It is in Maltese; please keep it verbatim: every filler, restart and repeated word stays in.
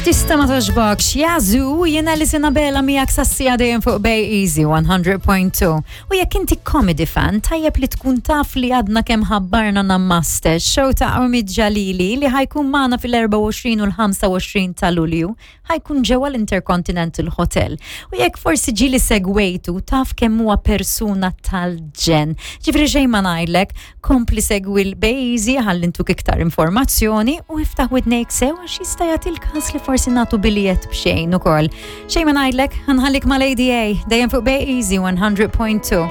Tista' ma togħġbokx, Yazoo, jiena li Sinabela miegħek sassija dejjem fuq Bay Easy one hundred point two. U jekk inti comedy fan, tajjeb li tkun taf li għadna kemm ħabbarna Namaste, show ta' Omid Jalili li ħa jkun magħna fil-erbgħa u għoxrin u l-ħamsa u għoxrin ta' Lulju, ħa jkun ġewwa l-Intercontinental Hotel. U jekk forsi ġieli segwejtu, taf kemm huwa persuna tal-ġenn. Ġifieri xejn ma ngħidlek, kompli segwi l-Bay Easy ħalli ntuk iktar informazzjoni u iftaħ widnejk sew għax jista' jagħti l-każ li forsi nagħtu biljett b'xejn ukoll. Xejn ma ngħidlek, ħa nħallik ma' Lady A, dejjem fuq Bay Easy one hundred point two.